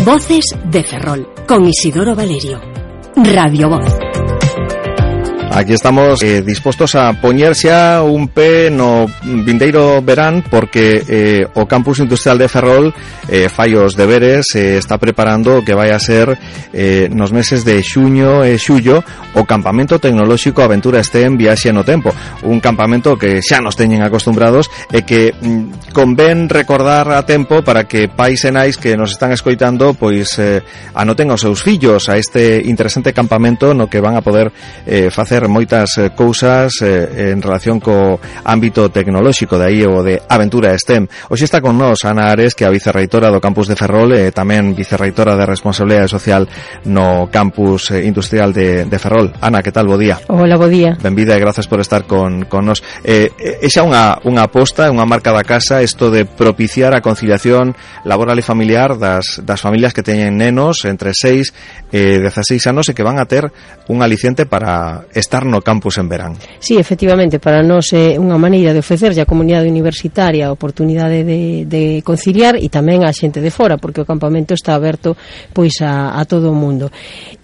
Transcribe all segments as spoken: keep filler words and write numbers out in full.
Voces de Ferrol, con Isidoro Valerio. Radio Voz. Aquí estamos eh, dispostos a poñerse a un pé no vindeiro verán porque eh, o Campus Industrial de Ferrol eh, fai os deberes, eh, está preparando o que vai a ser eh, nos meses de xuño e xullo o Campamento Tecnolóxico Aventura STEM Viaxe no Tempo, un campamento que xa nos teñen acostumbrados e que mm, convén recordar a tempo para que pais e nais que nos están escoitando pois eh, anoten os seus fillos a este interesante campamento no que van a poder eh, facer moitas eh, cousas eh, en relación co ámbito tecnolóxico, de aí o de Aventura STEM. Hoxe está con nós Ana Ares, que é a vicerreitora do Campus de Ferrol e tamén vicerreitora de Responsabilidade Social no Campus eh, Industrial de, de Ferrol. Ana, que tal? Bo día. Hola, bo día. Benvida e grazas por estar con, con nós. Eh, é xa unha, unha aposta, unha marca da casa, isto de propiciar a conciliación laboral e familiar das, das familias que teñen nenos entre seis e dezaseis anos e que van a ter un aliciente para estar no campus en verán. Sí, efectivamente, para nós é unha maneira de ofrecerlle á comunidade universitaria a oportunidade de, de conciliar e tamén á xente de fora, porque o campamento está aberto pois a, a todo o mundo.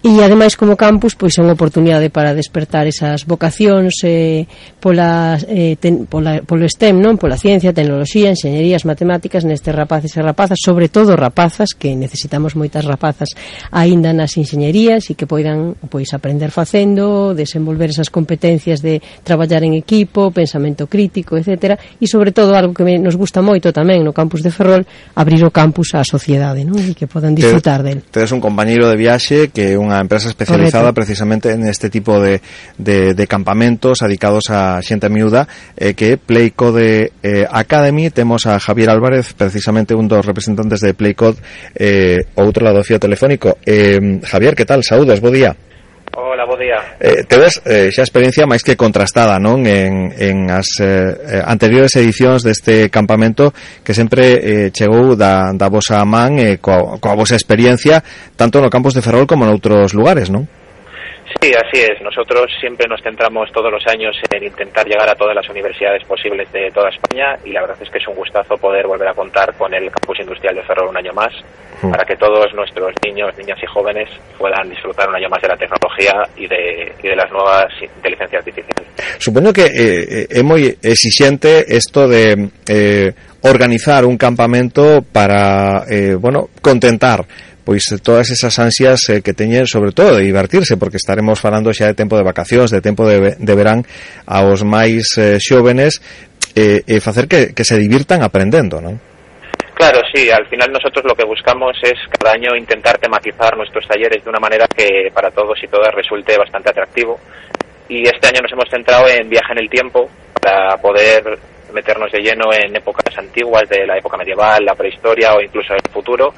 E ademais como campus pois é unha oportunidade para despertar esas vocacións eh, pola, eh, ten, pola, polo STEM, non? Pola ciencia, tecnoloxía, enxeñerías, matemáticas nestes rapaces e rapazas, sobre todo rapazas, que necesitamos moitas rapazas aínda nas enxeñerías e que poidan pois aprender facendo, desenvolver esas competencias de traballar en equipo, pensamento crítico, etcétera, e sobre todo algo que nos gusta moito tamén no campus de Ferrol, abrir o campus á sociedade, non? E que podan disfrutar del. Tedes un compañeiro de viaxe que é unha empresa especializada Correcto. Precisamente en este tipo de, de, de campamentos dedicados a xente miúda, eh, que é Playcode eh, Academy. Temos a Javier Álvarez, precisamente un dos representantes de Playcode, eh, outro lado do fío telefónico. Eh, Javier, que tal? Saúdos, bo día. Hola, bo día. Eh, tedes eh, xa experiencia máis que contrastada, non? En, en as eh, anteriores edicións deste campamento que sempre eh, chegou da, da vosa man eh, coa, coa vosa experiencia tanto no campus de Ferrol como en outros lugares, non? Sí, así es. Nosotros siempre nos centramos todos los años en intentar llegar a todas las universidades posibles de toda España y la verdad es que es un gustazo poder volver a contar con el Campus Industrial de Ferrol un año más mm. para que todos nuestros niños, niñas y jóvenes puedan disfrutar un año más de la tecnología y de, y de las nuevas inteligencias artificiales. Supoño que eh, é moi exixente isto de eh, organizar un campamento para, eh, bueno, contentar pois todas esas ansias eh, que teñen, sobre todo de divertirse, porque estaremos falando xa de tempo de vacacións, de tempo de, de verán aos máis eh, xóvenes e eh, eh, facer que, que se divirtan aprendendo, non? Claro, sí, al final nosotros lo que buscamos es cada año intentar tematizar nuestros talleres de una manera que para todos y todas resulte bastante atractivo y este año nos hemos centrado en viaje en el tiempo para poder meternos de lleno en épocas antiguas de la época medieval, la prehistoria o incluso el futuro,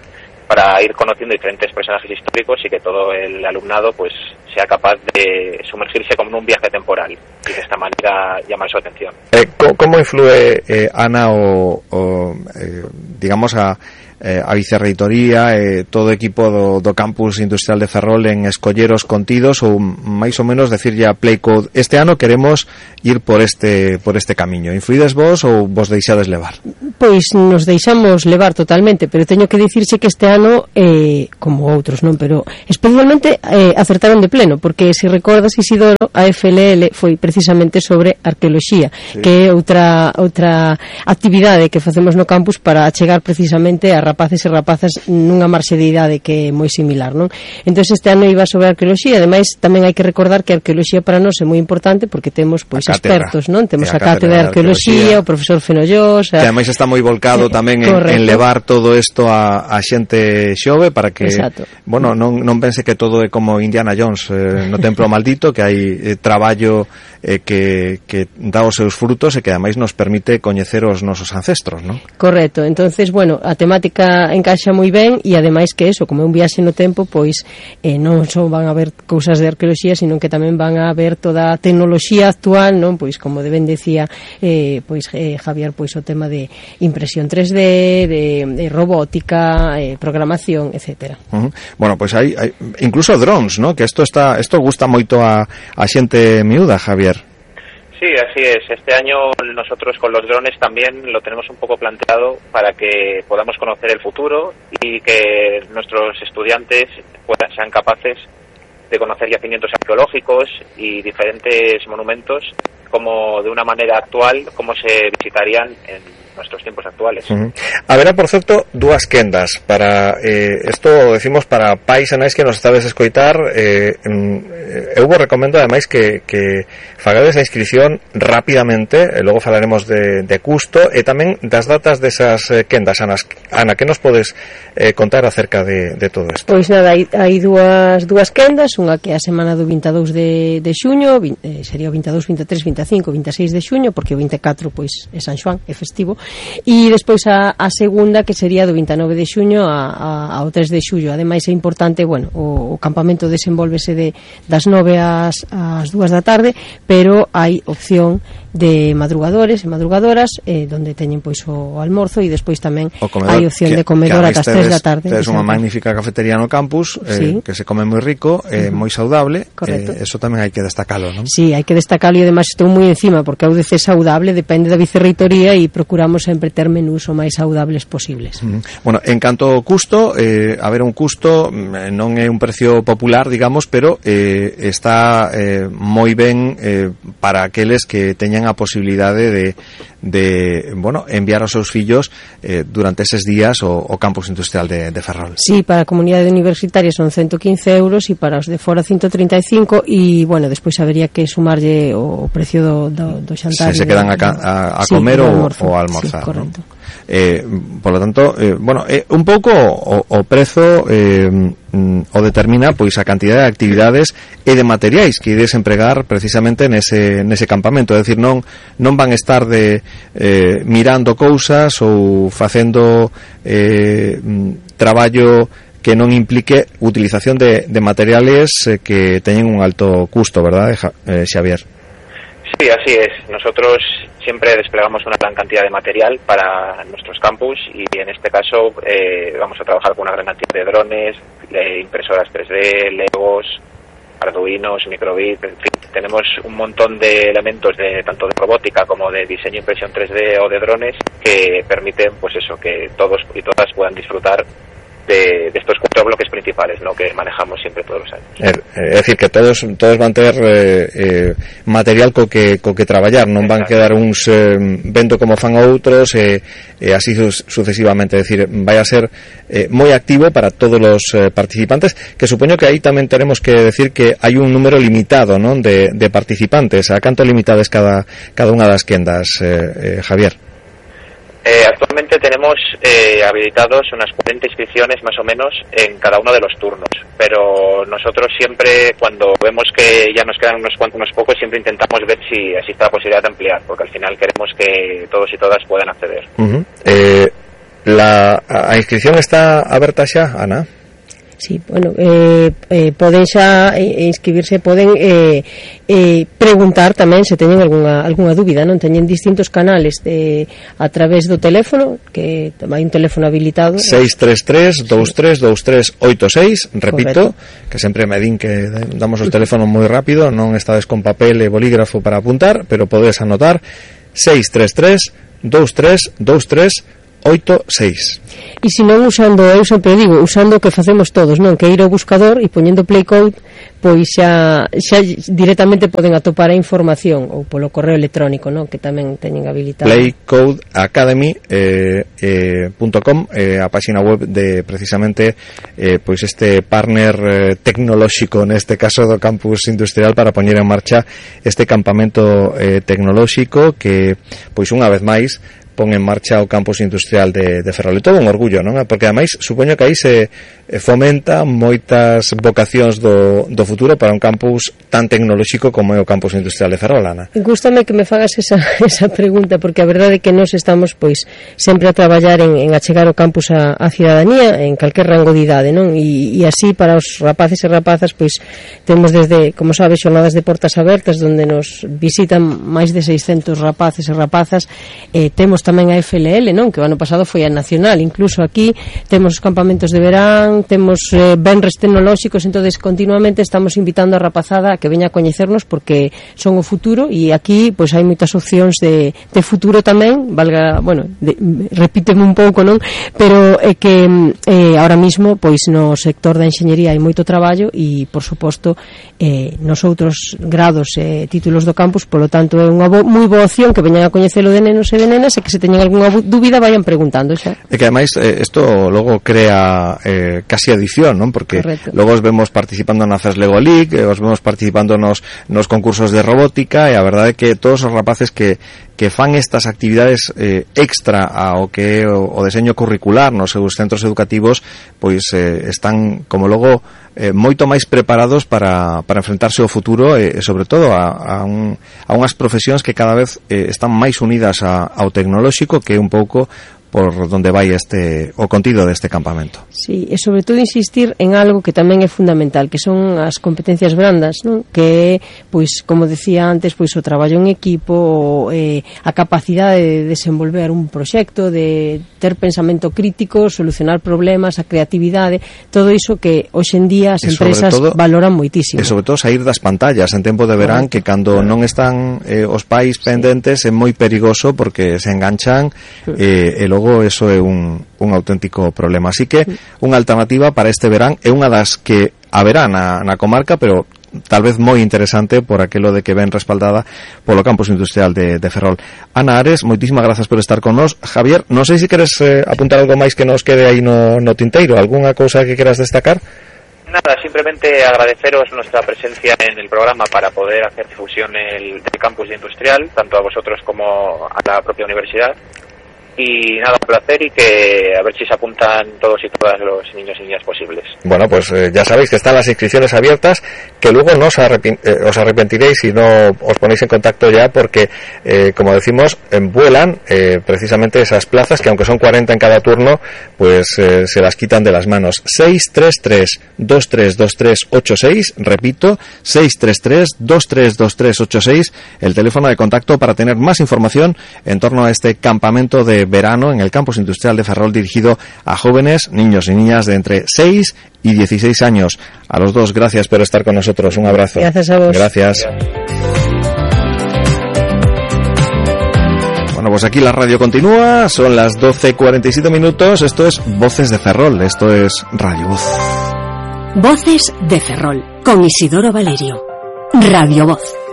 para ir conociendo diferentes personajes históricos y que todo el alumnado pues sea capaz de sumergirse como en un viaje temporal y de esta manera llamar su atención. Eh, ¿Cómo influye, eh, Ana, o, o eh, digamos a eh, a vicerreitoría e eh, todo o equipo do, do Campus Industrial de Ferrol en escolleros contidos ou máis ou menos decirlle a Playcode este ano queremos ir por este por este camiño? Influides vos ou vos deixades levar? Pois nos deixamos levar totalmente, pero teño que dicirse que este ano eh, como outros, non, pero especialmente eh, acertaron de pleno, porque se recordas, Isidoro, a F L L foi precisamente sobre arqueoloxía, sí. que é outra outra actividade que facemos no campus para chegar precisamente a rapaces e rapazas nunha marxe de idade que é moi similar, non? Entón este ano iba sobre arqueoloxía, ademais tamén hai que recordar que a arqueoloxía para nós é moi importante porque temos pois expertos, non? Temos a, a cátedra de arqueoloxía, o profesor Fenollós, a... que ademais está moi volcado eh, tamén en, en levar todo isto a, a xente xove para que, Exacto. bueno, non, non pense que todo é como Indiana Jones eh, no templo maldito, que hai eh, traballo eh, que, que dá os seus frutos e que ademais nos permite coñecer os nosos ancestros, non? Correcto, entonces, bueno, a temática encaixa moi ben e ademais que eso, como é un viaxe no tempo, pois eh, non só van a ver cousas de arqueoloxía, sino que tamén van a ver toda a tecnoloxía actual, non? Pois como de ben decía eh, pois eh, Javier, pois o tema de impresión tres D, de, de robótica, eh, programación, etcétera. Uh-huh. Bueno, pois hai, hai incluso drones, ¿no? Que isto está, isto gusta moito a, a xente miúda, Javier. Sí, así es. Este año nosotros con los drones también lo tenemos un poco planteado para que podamos conocer el futuro y que nuestros estudiantes puedan, sean capaces de conocer yacimientos arqueológicos y diferentes monumentos como de una manera actual, como se visitarían en nuestros tiempos actuales. Uh-huh. Haberá, por certo, dúas quendas para eh, isto decimos para pais e nais que nos estades a escoitar. eh, eu vos recomendo ademais que, que fagades a inscripción rapidamente, e logo falaremos de, de custo e tamén das datas desas eh, quendas. Ana, Ana, que nos podes eh, contar acerca de, de todo isto? Pois nada, hai, hai dúas, dúas quendas, unha que é a semana do vinte e dous de, de xuño, eh, sería o vinte e dous, vinte e tres, vinte e cinco, vinte e seis de xuño, porque o vinte e catro pois é San Xoán, é festivo. E despois a, a segunda, que sería do vinte e nove de xuño a, a, ao tres de xullo. Ademais é importante, bueno, o, o campamento desenvolvese de, das nove ás, ás dúas da tarde, pero hai opción de madrugadores e madrugadoras eh, donde teñen pois o almorzo, e despois tamén hai opción que, de comedor ata as tres da tarde. É unha magnífica cafetería no campus, eh, sí, que se come moi rico, eh, uh-huh, moi saudable. Eh, eso tamén hai que destacalo, non? Sí, hai que destacalo, e ademais estou moi encima porque a U D C saudable depende da vicerreitoría e procuramos sempre ter menús o máis saudables posibles. Uh-huh. Bueno, en canto ao custo, eh, a ver, un custo non é un precio popular, digamos, pero eh, está eh, moi ben eh, para aqueles que teñan a posibilidade de, de bueno, enviar aos seus fillos eh, durante eses días o, o campus industrial de, de Ferrol. Sí, para a comunidade universitaria son ciento quince euros e para os de fora ciento treinta e cinco, e, bueno, despois habería que sumarlle o precio do, do, do xantar. Se se quedan a, a, a sí, comer ou a almorzar. Sí, correcto. ¿No? Eh, por lo tanto, eh, bueno, eh, un pouco o, o prezo eh, o determina pois a cantidad de actividades e de materiais que ides empregar precisamente nese, nese campamento. É dicir, non, non van estar de eh, mirando cousas ou facendo eh, traballo que non implique utilización de, de materiales eh, que teñen un alto custo, ¿verdad, eh, Xavier? Sí, así es. Nosotros siempre desplegamos una gran cantidad de material para nuestros campus y en este caso eh, vamos a trabajar con una gran cantidad de drones, de impresoras tres D, Legos, Arduinos, microbit, en fin, tenemos un montón de elementos de tanto de robótica como de diseño, impresión tres D o de drones que permiten, pues eso, que todos y todas puedan disfrutar de, de estos cuatro bloques principales, ¿no?, que manejamos siempre todos los años. É, é decir, que todos todos van ter eh, eh, material co que co que traballar, non van quedar uns eh, vendo como fan outros e eh, eh, así su, sucesivamente, é dicir, vai a ser eh, moi activo para todos os eh, participantes, que supoño que aí tamén teremos que decir que hai un número limitado, non, de, de participantes. A canto limitades cada cada unha das quendas, eh, eh, Javier? Eh, actualmente tenemos eh, habilitados unas cuarenta inscripciones más o menos en cada uno de los turnos, pero nosotros siempre, cuando vemos que ya nos quedan unos cuantos, unos pocos, siempre intentamos ver si existe la posibilidad de ampliar, porque al final queremos que todos y todas puedan acceder. Uh-huh. eh, la, a inscripción está aberta xa, Ana? Sí, bueno, eh, eh, poden xa eh, inscribirse, poden eh, eh, preguntar tamén se teñen algunha, algunha dúbida, non? Teñen distintos canales de, a través do teléfono, que hai un teléfono habilitado seis tres tres, dous tres dous tres oito seis, repito. Correcto. Que sempre me din que damos os teléfonos moi rápido, non estades con papel e bolígrafo para apuntar, pero podes anotar seis tres tres, dous tres dous tres oito seis. E se non usando, eu sempre digo, usando o que facemos todos, non, que ir ao buscador e poñendo play code, pois xa, xa directamente poden atopar a información, ou polo correo electrónico, non, que tamén teñen habilitado. playcode academy punto com, eh, eh, a página web de precisamente eh, pois este partner eh, tecnolóxico, neste caso do campus industrial, para poñer en marcha este campamento eh, tecnolóxico que, pois unha vez máis, pon en marcha o campus industrial de, de Ferrol. E todo un orgullo, non? Porque ademais supoño que aí se fomenta moitas vocacións do, do futuro para un campus tan tecnolóxico como é o campus industrial de Ferrol, Ana. Gústame que me fagas esa, esa pregunta, porque a verdade é que nós estamos pois sempre a traballar en, en achegar o campus a, a cidadanía en calquer rango de idade, non? E, e así para os rapaces e rapazas pois temos desde, como sabes, xornadas de portas abertas onde nos visitan máis de seiscentos rapaces e rapazas, eh, temos tamén a F L L, non? Que o ano pasado foi a nacional. Incluso aquí temos os campamentos de verán, temos eh, benres tecnolóxicos, entonces continuamente estamos invitando a rapazada a que veña a coñecernos porque son o futuro, e aquí pois hai moitas opcións de, de futuro tamén, valga, bueno, de, repíteme un pouco, non? Pero é que eh, ahora mismo pois no sector da enxeñería hai moito traballo e, por suposto, eh, nos outros grados e eh, títulos do campus, polo tanto é unha bo, moi boa opción que veñan a coñecelo de nenos e de nenas, e que se teñen algunha dúbida vayan preguntando xa. É que ademais isto eh, logo crea eh, casi adición, non? Porque correcto, logo os vemos participando na Fes Lego League, os vemos participando nos, nos concursos de robótica, e a verdade é que todos os rapaces que que fan estas actividades eh, extra ao que é o, o deseño curricular nos seus centros educativos, pois eh, están como logo eh, moito máis preparados para, para enfrentarse ao futuro e, e sobre todo a, a, un, a unhas profesións que cada vez eh, están máis unidas a, ao tecnolóxico, que é un pouco por donde vai este o contido deste campamento. Sí, e sobre todo insistir en algo que tamén é fundamental, que son as competencias brandas, non? Que é, pois, como decía antes, pois o traballo en equipo, o, eh, a capacidade de desenvolver un proxecto, de ter pensamento crítico, solucionar problemas, a creatividade, todo iso que hoxe en día as empresas todo, valoran moitísimo. E sobre todo sair das pantallas en tempo de verán, que cando non están eh, os pais pendentes, sí, é moi perigoso porque se enganchan eh, e logo eso é un, un auténtico problema. Así que unha alternativa para este verán é unha das que haberá na, na comarca, pero tal vez moi interesante por aquilo de que ven respaldada polo campus industrial de, de Ferrol. Ana Ares, moitísimas grazas por estar con nós. Javier, non sei se queres eh, apuntar algo máis que nos quede aí no, no tinteiro, algunha cousa que queras destacar? Nada, simplemente agradeceros nuestra presencia en el programa para poder hacer difusión el, del campus industrial, tanto a vosotros como a la propia universidad. Y nada, un placer, y que a ver si se apuntan todos y todas los niños y niñas posibles. Bueno, pues eh, ya sabéis que están las inscripciones abiertas, que luego no os, arrepin- eh, os arrepentiréis si no os ponéis en contacto ya, porque, eh, como decimos, vuelan eh, precisamente esas plazas, que aunque son cuarenta en cada turno, pues eh, se las quitan de las manos. seis tres tres, dos tres dos tres ocho seis, repito, seis tres tres, dos tres dos tres ocho seis, el teléfono de contacto para tener más información en torno a este campamento de verano en el campus industrial de Ferrol, dirigido a jóvenes, niños y niñas de entre seis y dieciséis años. A los dos, gracias por estar con nosotros. Un abrazo. Gracias a vos. Gracias. Bueno, pues aquí la radio continúa, son las doce cuarenta y siete minutos, esto es Voces de Ferrol, esto es Radio Voz. Voces de Ferrol, con Isidoro Valerio. Radio Voz.